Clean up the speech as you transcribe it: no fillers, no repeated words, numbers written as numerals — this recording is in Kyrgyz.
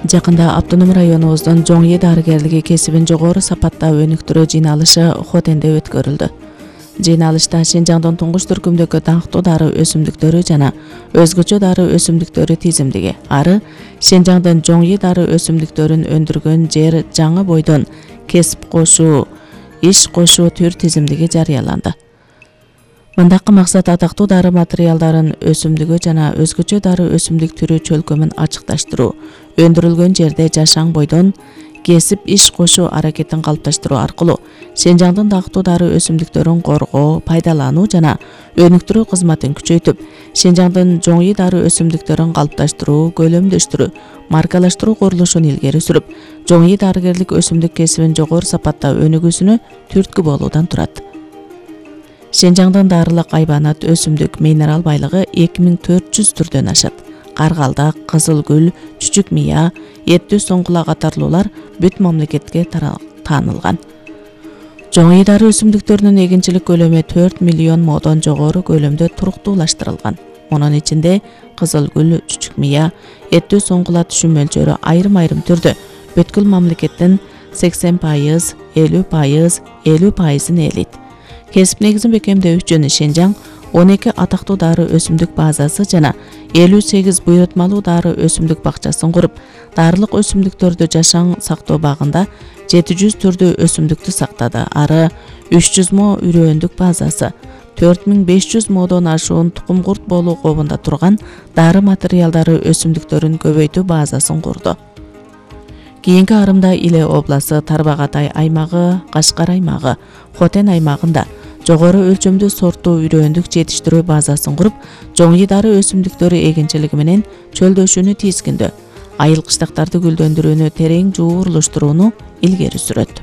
Жакында автоном районубуздун Жоңи дарыгерлиги кесибин жогору сапаттагы өнүктүрүү жыйналышы Хотенде өткөрүлдү. Жыйналышта Шинжаңдын туңгуч түркүмдөгү даңктуу дары өсүмдүктөрү жана өзгөчө дары өсүмдүктөрү тизимдиги, ары Шинжаңдын Жоңи дары өсүмдүктөрүн өндүргөн жер жаңы бойдон кесип кошуу, иш кошуу түр тизимдиги жарыяланды. Мындакы максат атактуу дары материалдарын өсүмдүгү жана өзгөчө дары өсүмдүк түрү чөлкөмүн ачыкташтыруу, өндүрүлгөн жерде жашаң бойдон кесип иш кошуу аракетин калыпташтыруу аркылуу Шинжаңдын дактуу дары өсүмдүктөрүн коргоо, пайдалануу жана өнүктүрүү кызматын күчөйтүп, Шинжаңдын Жоңи дары өсүмдүктөрүн калыпташтыруу, көлөмдөштүрүү, маркалаштыруу курулушун илгери сүрүп, Жоңи дарыгерлик өсүмдүк кесибин жогору сапатта өнүгүүсүнө түрткү болуудан турат. Шинжаңдын дарылык айбанат өсүмдүк минерал байлыгы 2400 түрдөн ашат. Каргалдак, кызыл гүл, чүчүк мыя, эттүү соңгула катарлуулар бүт мамлекетке таанылган. Жоңи дары өсүмдүктөрүнүн эгинчилик көлөмү 4 миллион модон жогору көлөмдө туруктуулаштырылган. Мунун ичинде кызыл гүл, чүчүк мыя, эттүү соңгула түшүм мөлчөрү айрым-айрым түрдө бүткүл мамлекеттин 80%, 50%, 50%ын ээлейт. Кесип негизин бекемдөө үчүн Шинжаң 12 атактуу дары өсүмдүк базасы жана 58 буйрутмалуу дары өсүмдүк бакчасын куруп, дарылык өсүмдүктөрдү жашаң сактоо багында 700 түрдүү өсүмдүктү сактады. Ары 300 мо үрөөндүк базасы, 4500 модон ашуун тукум курт болуу кообунда турган дары материалдары өсүмдүктөрүн көбөйтүү базасын курду. Кийинки арымда Иле областы, Тарбагатай аймагы, Кашкар аймагы, Хотен аймагында жогору өлчөмдүү сорттуу үрөөндүк жетиштирүү базасын куруп, Жоңи дары өсүмдүктөрү эгинчилиги менен чөлдөшүүнү тийскиндөө, айыл кыштактарды гүлдөндүрүүнү терең жуурулуштурууну илгери сүрөт.